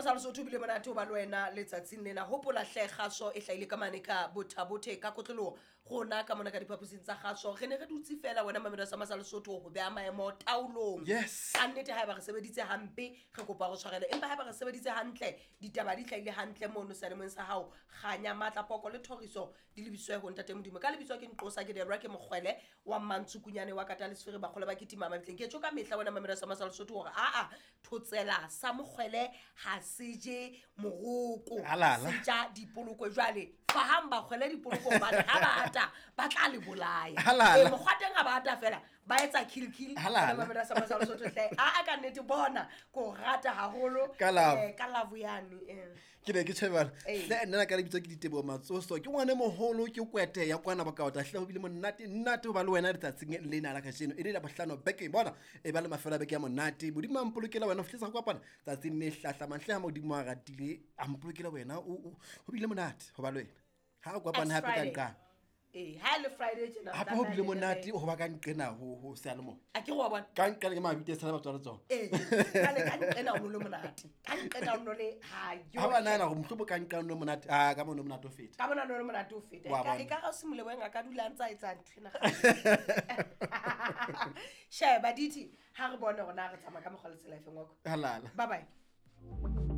sa Lesotho, bile monate ho ba le wena letsatsing lena. Hopola hle, kgaso e hlahile ka mane ka Bothabothe ka kotloloho rona ka mona ka diphaposing tsa kgaso. Re ne re dutse fela, wena mamelo sa masa Lesotho, ho beha maemo taolong. Ka nnete, haeba re sebeditse hampe, re kopa re tshwarele, empa haeba re sebeditse hantle, ditaba di hlahile hantle mono seyalemoyeng sa hao. Kganya, matla, poko le thoriso di lebiswe ho Ntate Modimo. Ka lebitso ke Nqosa, ke Debra, ke Mokgwele wa Mmantsukunyane wa kata lesfere, bakgole ba ketima mabitleng. Ke tjho ka mehla, wena mamelo sa masa Lesotho, hore aa thotsela sa mokgwele ha se je moroko. Alala. Se ja dipoloko. Jwale fahang bakgwele dipoloko, hobane ha ba ata ba tla le bolaya. Halala. Ee, mokgwa teng ha ba ata fela ba etsa kill kill. Halala. Wena mamelo sa masa Lesotho hle, aa ka nnete bona ko rata haholo. Ka love. Ka love yane. Ke ne ke tjhebana. Ee. Hle, nna ka lebitso ke Diteboho Matsoso, ke ngwane moholo, ke kwete ya kwana Bokaota. Hle, ho bile monate nnate ho ba le wena letsatsing lena la kajeno, e le la bohlano bekeng. Bona e ba le mafelo a beke ya monate. Modimo a mpolokela wena ho fihlisa go kopana tsatsing le hlahlamang. Hle, ha Modimo a ratile, a mpolokela wena. Ho bile monate ho ba le wena ha re kopane It's hape ka Friday. nqane. Ee, ha e le Friday tjena, Hape ho bile monate ho ba ka nqena ho seyalemoya. A ke re wa bona. Ka nqena ke mabite sala batswalo tsona. Ee, jwale ka nqena o no le monate, ka nqena o no le ha yo. Ha ba nahana hore mohlomong ka nqena o no monate, a ka mono monate o feta. Ka bona no le monate o feta. Wa bona. E ka ga o semoleboeng a ka dula a ntse a etsa ntho ena. Sheba dithi, ha re bone hore na re tsamaya ka mokgwa le tsela efeng wako. Halala. Bye bye.